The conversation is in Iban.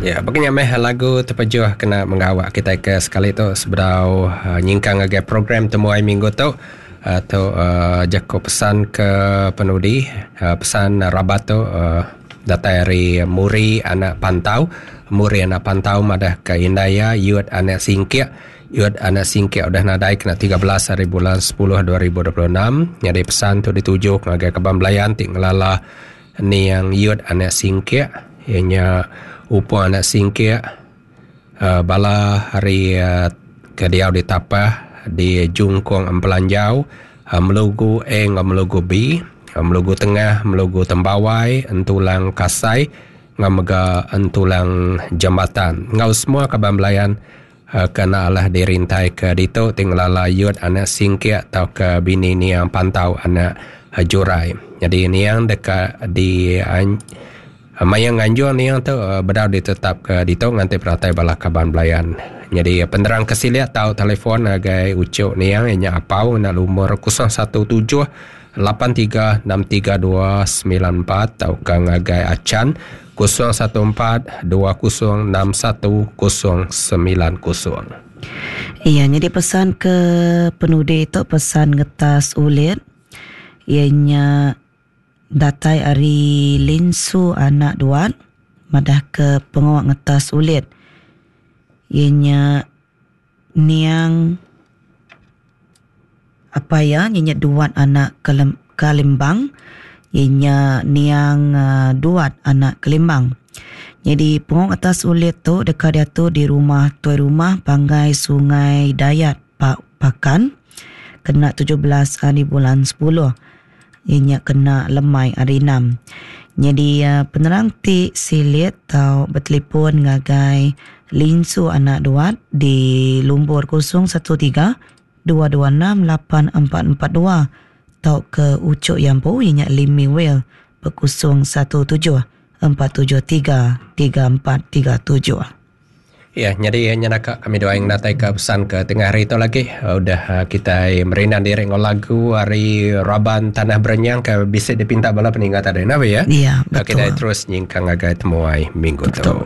Ya, baka nya meh lagu tepejuh kena menggawa kitai ke sekali tu sebedau nyingkang ngagai program temuai minggu tu. Tu jaku pesan ke penudi pesan rabat tu datai ari Muri anak Pantau. Muri anak Pantau madah ke indai iya Yut anak Singkik. Yut anak Singkik udah nadai kena 13 hari bulan 10 2026. Nyadi pesan tu dituju ngagai kaban belayan ti ngelala Niang Yut anak Singkik iya nya Upong anak Singkik bala ari ke diau di Tapah di Jungkong Empelanjau Melugu A enggau Melugu B, Melugu Tengah, Melugu Tembawai, Entulang Kasai enggau mega Entulang Jambatan enggau semua kaban belayan ke enda alah dirintai ke ditu ti ngelala Yut anak Singkik tauka bini Niang Pantau anak Jurai. Nyadi Niang deka di maya nganjung Niang tu bedau ditetapka ditu nganti penatai bala kaban belayan. Nyadi penerang ke silik tau telefon ngagai uchu Niang iya nya Apau ngena lumur 017 8363294 tauka ngagai Achan 014 2061 090. Iya nyadi pesan ke penudi tu pesan ngetas ulit iya nya datai ari Linsu anak Duat madah ke pengawa ngetas ulit iya nya Niang apai iya nya Duat anak Kalimbang iya nya niang Duat anak Kalimbang. Nyadi pengong atas ulit tu deka diatur di rumah Tuai Rumah Panggai Sungai Dayat Pakan kena 17 hari bulan 10 iya nya kena lemai hari enam. Nyadi penerang ti silik tau betelefon ngagai Linsu Anak Duat di lumbur 013 226 8442 tauka Uchok Yampu iya nya Limi Will ba 017 473 3437. Iya, nyadi nya naka kami duai ngenataika pesan ke tengah hari tu lagi. Udah kitai merindang diri enggau lagu ari raban Tanah Berenyang ke bisi dipinta bala peninga tadi nah ya. Iya, betul. Kitai terus nyingkang ngagai temuai minggu tu.